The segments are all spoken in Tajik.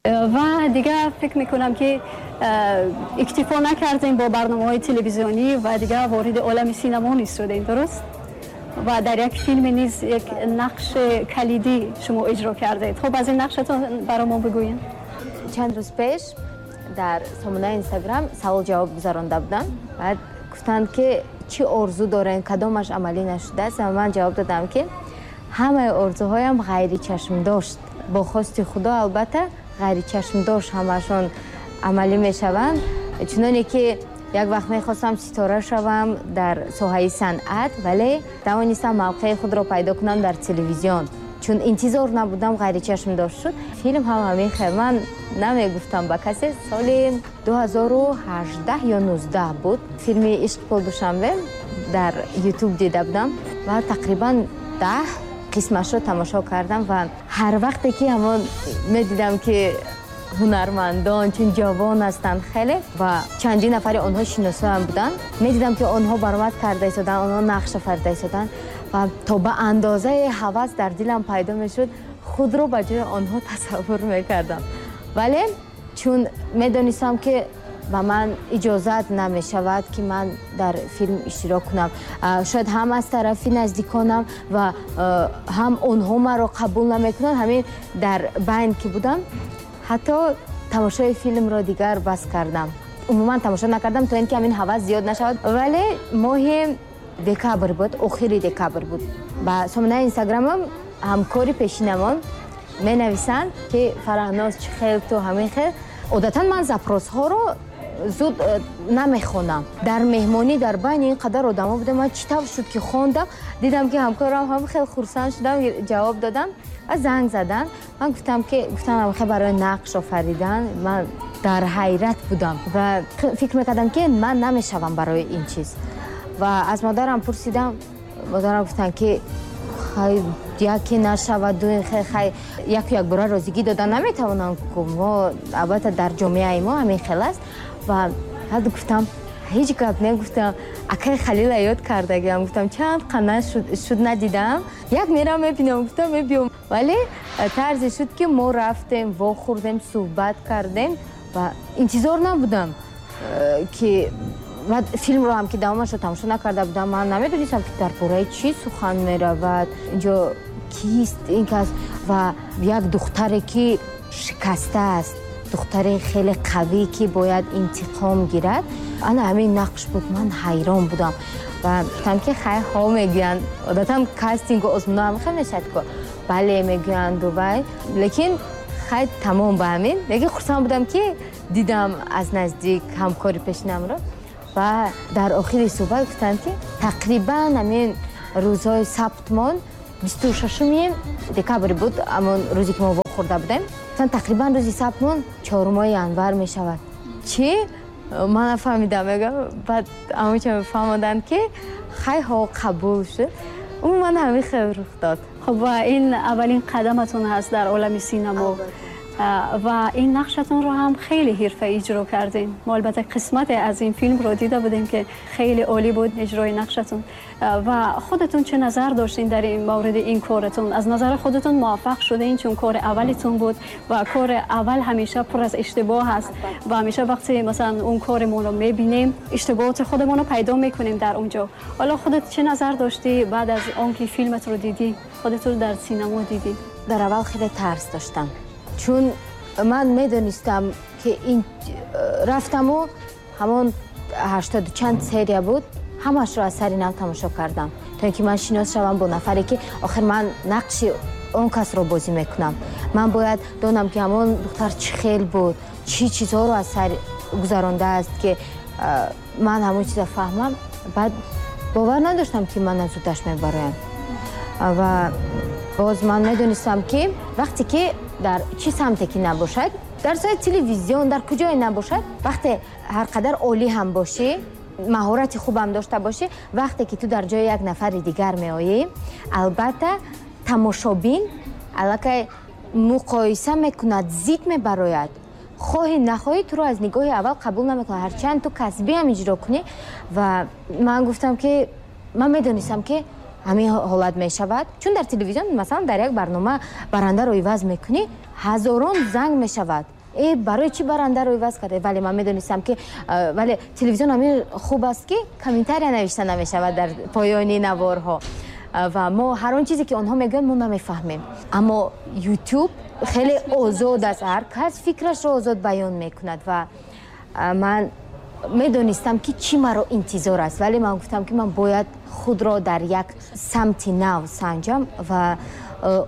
Ва дигар фикр мекунам, ки иктифо накардем бо барномаҳои телевизионӣ ва дигар вориди олами синамо низ шудем, дуруст? Ва дар як филме низ як нақши калидӣ шумо иҷро кардед. Хуб, аз ин нақшатон барои мо бигӯед. Чанд рӯз пеш дар сомонаи Инстаграм савол ҷавоб гузаронда будам. Баъд гуфтанд, ки чӣ орзу дорем, кадомаш амалӣ нашудааст. Ва ман ҷавоб додам, ки ҳамаи орзуҳоям ғайричашмдошт, бо хости Худо, албатта, ғайричашмдошт ҳамашон амалӣ мешаванд. Чуноне ки як вақт мехостам ситора шавам дар соҳаи санъат, вале тавонистам мавқеи худро пайдо кунам дар телевизион, чун интизор набудам, ғайричашмдошт шуд. Филм ҳам ҳамин хел. Ман намегуфтам ба касе, соли 2018 ё 19 буд, филми «Ишқ пол Душанбе» дар Ютуб дида будам ва тақрибан 10 қисмашро тамошо кардам. Ва ҳар вақте ки ҳамон медидам, ки ҳунармандон чун ҷавон ҳастанд хеле ва чандин нафари онҳо шиносоям буданд, медидам, ки онҳо баромад карда истоданд, онҳо нақш офарида истоданд ва то ба андозаи ҳавас дар дилам пайдо мешуд, худро ба ҷои онҳо тасаввур мекардам. Вале чун медонистам, ки ба ман иҷозат намешавад, ки ман дар филм иштирок кунам, шояд ҳам аз тарафи наздиконам ва ҳам онҳо маро қабул намекунанд, ҳамин дар байн ки будам, ҳатто тамошои филмро дигар бас кардам, умуман тамошо накардам, то ин ки ҳамин ҳавас зиёд нашавад. Вале моҳи декабр буд, охири декабр буд, ба сомонаи Инстаграмам ҳамкори пешинамон менависанд, ки Фараҳноз, чӣ хел ту ҳамин хел. Одатан ман запросҳоро зуд намехонам. Дар меҳмонӣ дар байни ин қадар одамо будам, ман чӣ тавр шуд, ки хондам, дидам, ки ҳамкорам ҳам хел, хурсанд шудам, ҷавоб додам ва занг задан. Ман гуфтам, ки гуфтам хел барои нақш офаридан. Ман дар ҳайрат будам ва фикр мекардам, ки ман намешавам барои ин чиз. Ва аз модарам пурсидам, модарам гуфтанд, ки хай, яке нашавад, ду хай, яку якбора розигӣ дода наметавонам. Мо албатта дар ҷомеаи мо ҳамин хел аст. Ва ҳад гуфтам, ҳеҷ гап не, гуфтам, акай Халила ёд кардагиам, гуфтам, чанд қана шуд надидам, як мерам мебинам, гуфтам, мебиём. Вале тарзе шуд, ки мо рафтем, вохӯрдем, суҳбат кардем ва интизор набудам, ки ва филмро ҳам ки давомашро тамошо накарда будам, ман намедонистам, ки дар бораи чӣ сухан меравад, инҷо кист ин кас. Ва як духтаре, ки шикастааст, духтари хеле қавӣ, ки бояд интиқом гирад, ана ҳамин нақш буд. Ман ҳайрон будам ва гуфтам, ки хай, ҳо мегӯянд, одатан кастингу озмуно ҳам хел мешавад ку, бале мегӯянду вай, лекин хай, тамом ба ҳамин. Лекин хурсанд будам, ки дидам аз наздик ҳамкори пешинамро. Ва дар охири суҳбат гуфтанд, ки тақрибан ҳамин рӯзҳои сабтмон, 26-уми декабр буд, ҳамон рӯзе, ки мо вохӯрда будем, гуфтанд, тақрибан рӯзи сабтмон 4-моҳи январ мешавад. Чӣ? Ман нафаҳмидам, мегӯям. Баъд ҳамонча фаҳмоданд, ки хай, ҳо, қабул шуд. Умуман ҳамин хел рух дод. Хуб, ва ин аввалин қадаматон ҳаст дар олами синамо ва ин нақшатонро ҳам хеле ҳирфаӣ иҷро кардем. Мо албатта қисмате аз ин филмро дида будем, ки хеле олӣ буд иҷрои нақшатон. Ва худатон чӣ назар доштин дар ин мавриди ин коратон? Аз назари худатон муваффақ шудин, чун кори аввалитон буд ва кори аввал ҳамеша пур аз иштибоҳ аст ва ҳамеша вақте масалан он коримонро мебинем, иштибоҳоти худамонро пайдо мекунем дар он ҷо. Ҳоло худат чӣ назар доштӣ баъд аз он ки филматро дидӣ, худатро дар синамо дидӣ? Дар аввал хеле тарс доштам, чун ман медонистам, ки ин рафтаму ҳамон ҳаштоду чанд серия буд, ҳамашро аз сари нав тамошо кардам, то ин ки ман шинос шавам бо нафаре, ки охир ман нақши он касро бозӣ мекунам. Ман бояд донам, ки ҳамон духтар чӣ хел буд, чӣ чизҳоро аз сар гузарондааст, ки ман ҳамон чиза фаҳмам. Баъд бовар надоштам, ки ман аз уддаш мебароям. Ва боз ман медонистам, ки вақте ки дар чӣ самте ки набошад, дар соҳаи телевизион, дар куҷое набошад, вақте ҳар қадар олӣ ҳам бошӣ, маҳорати хубам дошта бошӣ, вақте ки ту дар ҷои як нафари дигар меоӣ, албатта, тамошобин аллакай муқоиса мекунад, зид мебарояд, хоҳӣ нахоҳӣ туро аз нигоҳи аввал қабул намекунад, ҳарчанд ту касбиам иҷро кунӣ. Ва ман гуфтам, ки ман медонистам, ки ҳамин ҳолат мешавад, чун дар телевизион, масалан, дар як барнома барандаро иваз мекунӣ, ҳазорон занг мешавад. Барои чӣ барандаро иваз карда? Вале ман медонистам, ки вале телевизион ҳамин хуб аст, ки комментария навишта намешавад дар поёни наворҳо ва мо ҳар он чизе, ки онҳо мегӯянд, мо намефаҳмем. Аммо Ютуб хеле озод аст, ҳар кас фикрашро озод баён мекунад. Ва ман медонистам, ки чӣ маро интизор аст, вале ман гуфтам, ки ман бояд худро дар як самти нав санҷам ва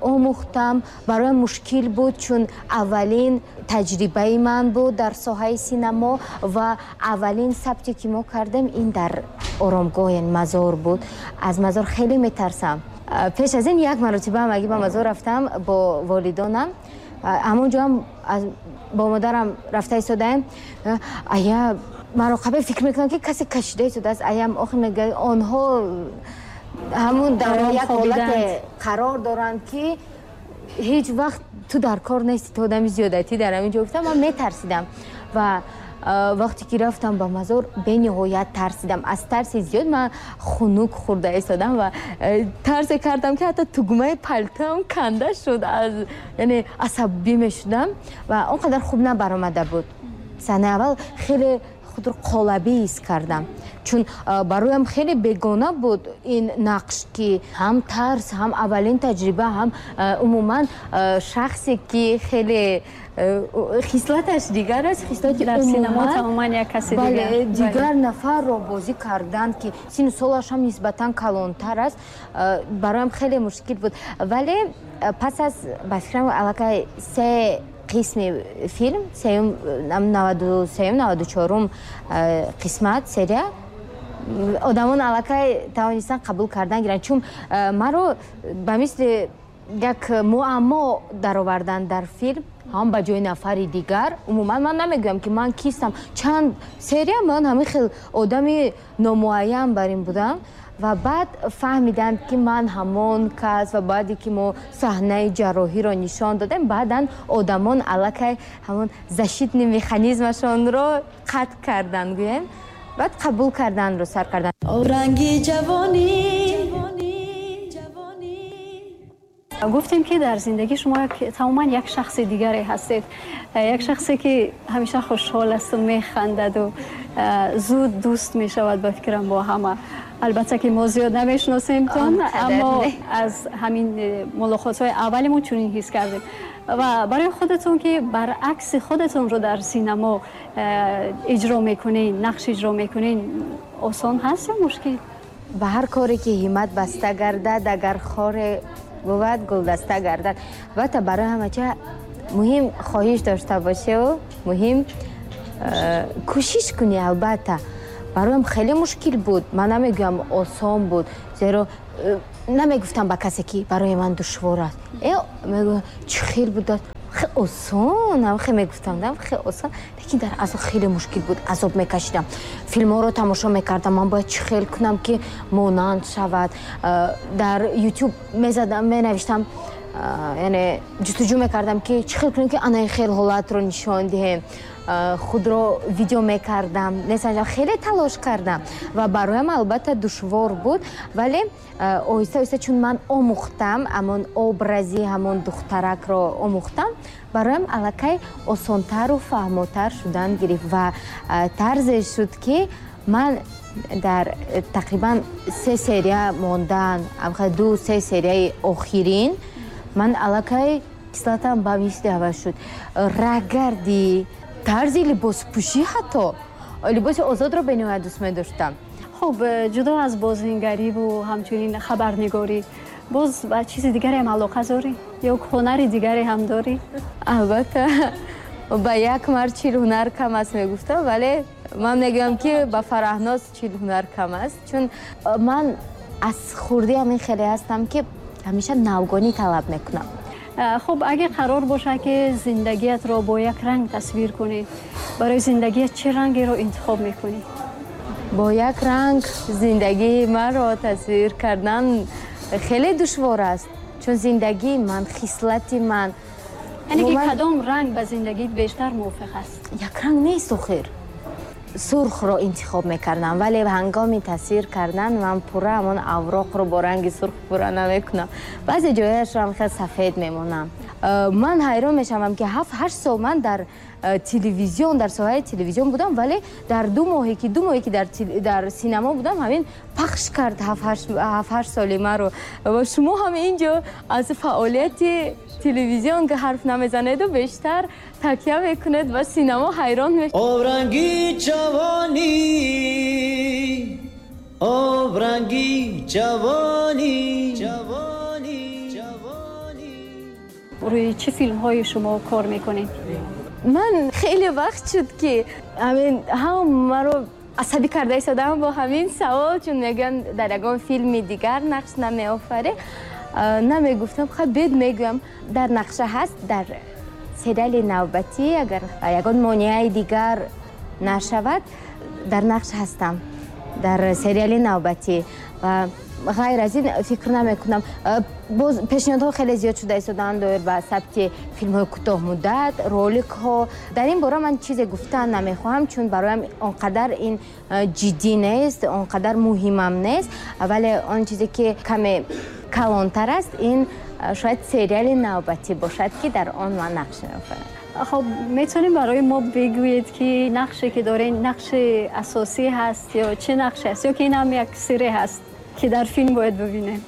омӯхтам. Бароям мушкил буд, чун аввалин таҷрибаи ман буд дар соҳаи синамо ва аввалин сабте, ки мо кардем, ин дар оромгоҳ, яъне мазор буд. Аз мазор хеле метарсам. Пеш аз ин як маротиба ҳамагӣ ба мазор рафтам бо волидонам. Ҳамон ҷоам бо модарам рафта истодаем, ая маро қабл фикр мекунам, ки касе кашида истодааст. Аям охир мегӯяд, онҳо ҳамун дар як ҳолате қарор доранд, ки ҳеҷ вақт ту дар кор нести, ту одами зиёдатӣ дар ҳамин ҷо. Гуфтам, ман метарсидам ва вақте ки рафтам ба мазор, бениҳоят тарсидам. Аз тарси зиёд ман хунук хӯрда истодам ва тарсе кардам, ки ҳатто тугмаи палтоам канда шуд, аз яъне асабӣ мешудам ва он қадар хуб набаромада буд. Саҳнаи аввал хеле худро қолабӣ ҳис кардам, чун бароям хеле бегона буд ин нақш, ки ҳам тарс, ҳам аввалин таҷриба, ҳам умуман шахсе, ки хеле хислаташ дигар аст, хислати дар синамо тамоман як каси дигар, дигар нафарро бозӣ кардан, ки сину солаш ҳам нисбатан калонтар аст, бароям хеле мушкил буд. Вале пас аз, ба фикрам, аллакай се қисми филм, сеюм, 93-юм, 94-ум қисмат, серия, одамон аллакай тавонистанд қабул кардан гиранд, чун маро ба мисли як муаммо дароварданд дар филм, ҳам ба ҷои нафари дигар. Умуман ман намегӯям, ки ман кистам. Чанд серия ман ҳамин хел одами номуайян бар ин будам ва баъд фаҳмиданд, ки ман ҳамон кас. Ва баъде ки мо саҳнаи ҷарроҳиро нишон додем, баъдан одамон аллакай ҳамон защитный механизмашонро қатъ карданд, гӯем, баъд қабул карданро сар карданд. Ранги ҷавонӣ. Гуфтем, ки дар зиндагӣ шумо тамоман як шахси дигаре ҳастед, як шахсе, ки ҳамеша хушҳол асту механдаду зуд дӯст мешавад, ба фикрам, бо ҳама. Албатта ки мо зиёд намешиносемтон, аммо аз ҳамин мулоқотҳои аввалимон чунин ҳис кардем. Ва барои худатон, ки баръакси худатонро дар синамо иҷро мекунед, нақш иҷро мекунед, осон ҳаст ё мушкил? Ба ҳар коре ки ҳиммат баста гардад, агар хоре бувад, гулдаста гардад. Албатта, барои ҳамача муҳим хоҳиш дошта бошеву муҳим кӯшиш кунӣ. Албатта, бароям хеле мушкил буд, ман намегӯям, осон буд, зеро намегуфтам ба касе, ки барои ман душвор аст. Мегӯям, чӣ хел будааст, хеле осон хе мегуфтам, хеле осон, лекин дар асл хеле мушкил буд, азоб мекашидам. Филмҳоро тамошо мекардам, ман бояд чӣ хел кунам, ки монанд шавад. Дар Ютуб мезадам, менавиштам, яъне ҷустуҷӯ мекардам, ки чӣ хел кунем, ки анаи хел ҳолатро нишон диҳем. Худро видео мекардам, несанҷам, хеле талош кардам ва бароям албатта душвор буд. Вале оҳиста оҳиста, чун ман омӯхтам, ҳамон образи ҳамон духтаракро омӯхтам, бароям аллакай осонтару фаҳмотар шудан гирифт ва тарзе шуд, ки ман дар тақрибан се серия мондан, ду се серияи охирин, ман аллакай кислатам ба мисли ҳава шуд. Раҳгардӣ, тарзи либоспӯшӣ, ҳатто либоси озодро бениҳоят дӯст медоштам. Хуб, ҷудо аз бозингариву ҳамчунин хабарнигорӣ, боз ба чизи дигаре ҳам алоқа дорӣ ё ҳунари дигаре ҳам дорӣ? Албатта, ба як мард 40 ҳунар кам аст, мегуфтам, вале ман мегӯям, ки ба Фараҳноз 40 ҳунар кам аст, чун ман аз хурдӣ ҳамин хеле ҳастам, ки ҳамеша навгонӣ талаб мекунам. Хуб, агар қарор бошад, ки зиндагиятро бо як ранг тасвир кунӣ, барои зиндагият чӣ рангеро интихоб мекунӣ? Бо як ранг зиндагии маро тасвир кардан хеле душвор аст, чун зиндагии ман, хислати ман Яъне ки кадом ранг ба зиндагиат бештар мувофиқ аст? Як ранг нест. Охир сурхро интихоб мекардам, вале ҳангоми тасвир кардан ман пурра ҳамон авроқро бо ранги сурх пурра намекунам, баъзе ҷояшро ҳам хел сафед мемонам. Ман ҳайрон мешавам, ки 7-8 сол ман дар телевизион, дар соҳаи телевизион будам, вале дар 2 моҳе ки дар синемо будам, ҳамин пахш кард 7-8 соли маро. Ва шумо ҳам инҷо аз фаъолияти телевизион ки ҳарф намезанеду бештар такя мекунед ва синемо, ҳайрон мешавед. Обранги ҷавонӣ, обранги ҷавонӣ, ҷавонӣ, ҷавонӣ. Рӯи чӣ филмҳои шумо кор мекунед? Ман хеле вақт шуд, ки ҳамин ҳам маро асабӣ карда истодам бо ҳамин савол, чун мегӯям дар ягон филми дигар нақш намеофарӣ. Намегуфтам, хай бед мегӯям, дар нақша ҳаст дар сериали навбатӣ, агар ягон монеаи дигар нашавад, дар нақш ҳастам дар сериали навбатӣ. Ва ғайр аз ин фикр намекунам. Боз пешниҳодҳо хеле зиёд шуда истодаанд доир ба сабти филмҳои кӯтоҳмуддат, роликҳо. Дар ин бора ман чизе гуфтан намехоҳам, чун бароям он қадар ин ҷиддӣ нест, он қадар муҳимам нест, вале он чизе ки каме калонтар аст, ин шояд сериали навбатӣ бошад, ки дар он ман нақш меофарам. Хоб, метавонем барои мо бигӯед, ки нақше ки доред нақши асосӣ ҳаст ё чӣ нақше аст, ё ки ин ҳам як сире ҳаст, ки дар филм бояд бибинем?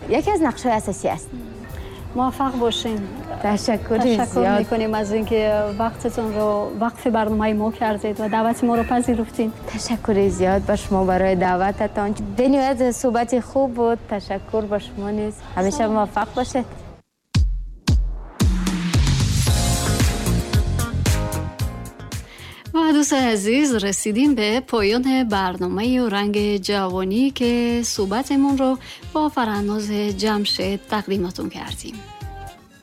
Яке аз нақшҳои асосӣ аст. Муваффақ бошед. Ташаккури ташаккур зиёд. Мекунем аз инки вақтатонро вақфи барномаи мо кардед ва даъвати моро пазируфтед. Ташаккури зиёд ба шумо барои даъвататон. Бениҳоят суҳбати хуб буд. Ташаккур ба шумо низ. Ҳамеша муваффақ бошед. و دوست عزیز، رسیدیم به پایان برنامه رنگ جوانی که صحبتمون رو با فرناز جمشید تقدیمتون کردیم.